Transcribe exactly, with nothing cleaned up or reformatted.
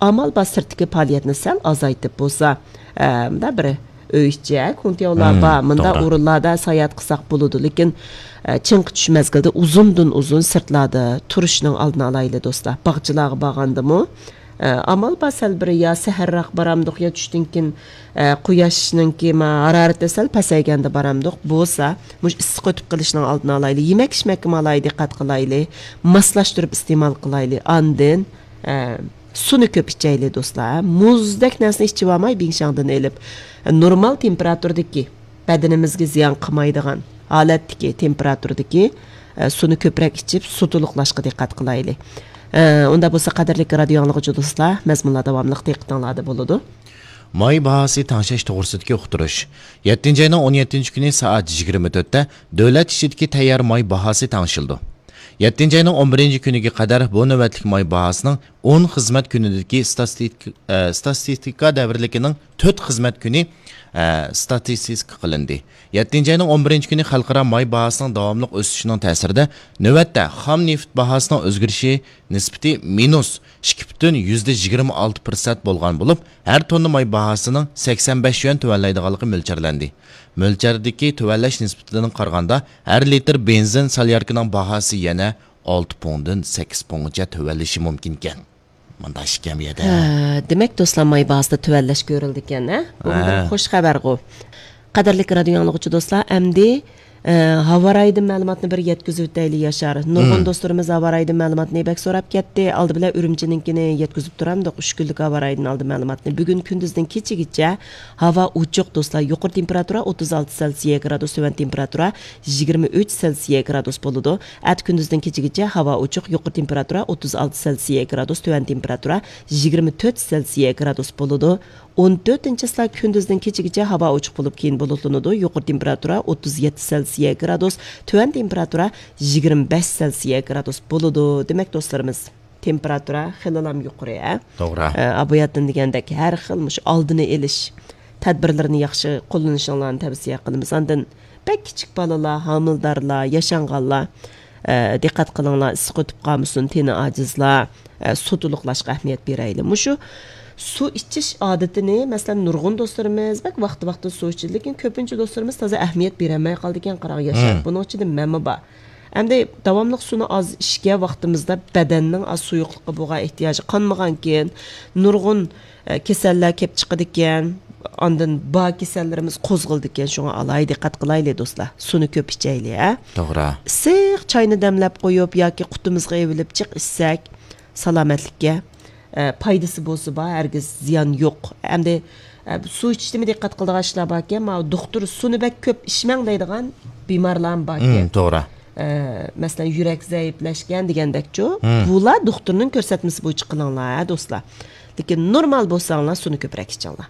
ئامال بار سىرتتىكى پائالىيەتنى سەل ئازايتىپ بولسا، ئە، مۇنداق بىر ئۆي ئىچى، ھە، كۇڭتياۋلار مم، بار، مۇنداق توغرا. ئورۇنلاردا ساياھەت قىلساق بولىدۇ. لېكىن، ئە، چىڭقى چۈش مەزگىلدە ئۇزۇندىن ئۇزۇن سىرتلاردا تۇرۇشنىڭ ئالدىنى ئالايلى، دوستلار. باغچىلارغا بارغاندىمۇ، ئە، ئامال بار سەل بىر يا سەھەرراق بارامدۇق، يا چۈشتىن كېيىن، ئە، قۇياشنىڭكى ما ھارارىتى سەل پەسەيگەندە بارامدۇق. بولسا، مۇشۇ ئىسسىق ئۆتۈپ قېلىشنىڭ ئالدىنى ئالايلى. يېمەك ئىچمەككىمۇ ئالاھىدە دىققەت قىلايلى. ماسلاشتۇرۇپ ئىستېمال قىلايلى. ئاندىن، ئە، سۇنى كۆپ ئىچەيلى، دوستلار. مۇزدەك نەرسىنى ئىچىۋالماي، بىڭشاڭدىن ئېلىپ، نورمال تېمپېراتۇرىدىكى، بەدىنىمىزگە زىيان قىلمايدىغان ھالەتتىكى تېمپېراتۇرىدىكى، ئە، سۇنى كۆپرەك ئىچىپ، سۇ تولۇقلاشقا دىققەت قىلايلى. ئە، ئۇنداق بولسا، قەدىرلىك رادىيو ئاڭلىغۇچى دوستلار، مەزمۇنلار داۋاملىق دىققىتىڭلاردا بولىدۇ. ماي باھاسى تەڭشەش توغرىسىدىكى ئۇقتۇرۇش. يەتتىنچى ئاينىڭ ئون يەتتىنچى كۈنى سائەت يىگىرمە تۆتتە دۆلەت ئىچىدىكى تەييار ماي باھاسى تەڭشىلىدۇ. يەتتىنچى ئاينىڭ ئون بىرىنچى كۈنىگە قەدەر بۇ نۆۋەتلىك ماي باھاسىنىڭ ئون خىزمەت كۈنىدىكى ستاتىستىك-، ئە، ستاتىستىكا دەۋرلىكىنىڭ تۆت خىزمەت كۈنى، ئە، ستاتىستىكا قىلىندى. يەتتىنچى ئاينىڭ ئون بىرىنچى كۈنى خەلقئارا ماي باھاسىنىڭ داۋاملىق ئۆسۈشىنىڭ تەسىرىدە، نۆۋەتتە خام نېفىت باھاسىنىڭ ئۆزگىرىشى نىسبىتى مىنۇس ئىككى پۈتۈن يۈزدە يىگىرمە ئالتە پىرسەنت بولغان بولۇپ، ھەر توننا ماي باھاسىنىڭ سەكسەن بەش يۈەن تۆۋەنلەيدىغانلىقى مۆلچەرلەندى. مۆلچەردىكى تۆۋەنلەش نىسبىتىدىن قارىغاندا، ھەر لىتىر بېنزىن سالياركىنىڭ باھاسى يەنە ئالتە پۇڭدىن سەككىز پۇڭغىچە تۆۋەنلىشى مۇمكىنكەن. مۇنداق ئىكەن بۇ يەردە. ھە، دېمەك، دوستلار، ماي باھاسىدا تۆۋەنلەش كۆرۈلىدىكەن، ھە؟ بۇ بىر ھە. خوش خەۋەرغۇ. قەدىرلىك رادىيو ئاڭلىغۇچى دوستلار، ئەمدى، ئە، ھاۋا رايىدىن مەلۇماتنى بىر يەتكۈزۈپ ئۆتەيلى، ياشار. نۇرغۇن مم. دوستلىرىمىز ھاۋا رايىدىن مەلۇماتنى بەك سوراپ كەتتى. ئالدى بىلەن ئۈرۈمچىنىڭكىنى يەتكۈزۈپ تۇرامدۇق، ئۈچ كۈنلۈك ھاۋا رايىدىن ئالدى مەلۇماتنى. بۈگۈن كۈندۈزدىن كېچىگىچە ھاۋا ئوچۇق، دوستلار. يۇقىرى تېمپېراتۇرا ئوتتۇز ئالتە سېلسىيە گرادۇس، تۆۋەن تېمپېراتۇرا يىگىرمە ئۈچ سېلسىيە گرادۇس بولىدۇ. ئەتە كۈندۈزدىن كېچىگىچە ھاۋا ئوچۇق، يۇقىرى تېمپېراتۇرا ئوتتۇز ئالتە سېلسىيە گرادۇس، تۆۋەن تېمپېراتۇرا يىگىرمە تۆت سېلسىيە گرادۇس بولىدۇ. ئون تۆتىنچى چىسلا كۈندۈزدىن كېچىگىچە ھاۋا ئوچۇق بولۇپ، كېيىن بۇلۇتلىنىدۇ. يۇقىرى تېمپېراتۇرا ئوتتۇز يەتتە سېلسىيە گرادۇس، تۆۋەن تېمپېراتۇرا يىگىرمە بەش سېلسىيە گرادۇس بولىدۇ. دېمەك، دوستلىرىمىز، تېمپېراتۇرا خېلىلام يۇقىرى، ھە؟ توغرا. ئە، ئاباياتتىن دېگەندەك، ھەر خىل مۇشۇ ئالدىنى ئېلىش تەدبىرلىرىنى ياخشى قوللىنىشىڭلارنى تەۋسىيە قىلىمىز. ئاندىن بەك كىچىك بالىلار، ھامىلىدارلار، ياشانغانلار، ئە، دىققەت قىلىڭلار، ئىسسىق ئۆتۈپ قالمىسۇن، تېنى ئاجىزلار، ئە، سۇ تولۇقلاشقا ئەھمىيەت بېرەيلى. مۇشۇ سۇ ئىچىش ئادىتىنى، مەسىلەن، نۇرغۇن دوستلىرىمىز بەك ۋاقتى-ۋاقتىدا سۇ ئىچىدۇ، لېكىن كۆپىنچە دوستلىرىمىز تازا ئەھمىيەت بېرەلمەي قالىدىكەن، قاراڭ، ياشار. مم. بۇنىڭ ئىچىدە مەنمۇ بار. ئەمدى داۋاملىق سۇنى ئاز ئىچكەن ۋاقتىمىزدا بەدەننىڭ ئاز سۇيۇقلۇققا بولغان ئېھتىياجى قانمىغانكىن، نۇرغۇن، ئە، كېسەللەر كېلىپ چىقىدىكەن. ئاندىن بار كېسەللىرىمىز قوزغىلىدىكەن، شۇڭا ئالاھىدە دىققەت قىلايلى، دوستلار. سۇنى كۆپ ئىچەيلى، ھە؟ توغرا. ئىسسىق چاينى دەملەپ قويۇپ ياكى قۇتىمىزغا ئېۋىلىپ جىق ئىچسەك، سالامەتلىككە، ئە، پايدىسى بولسا بار، ھەرگىز زىيان يوق. ئەمدى، ئە، سۇ ئىچىشتىمۇ دىققەت قىلىدىغان ئىشلار باركەن، ماۋۇ دوختۇر سۇنى بەك كۆپ ئىچمەڭ دەيدىغان بىمارلارمۇ باركەن. مم، توغرا. ئە، مەسىلەن، يۈرەك زەئىپلەشكەن دېگەندەكچۇ. مم. بۇلار دوختۇرنىڭ كۆرسەتمىسى بويىچە قىلىڭلار، ھە، دوستلار. لېكىن نورمال بولساڭلار، سۇنى كۆپرەك ئىچىڭلار.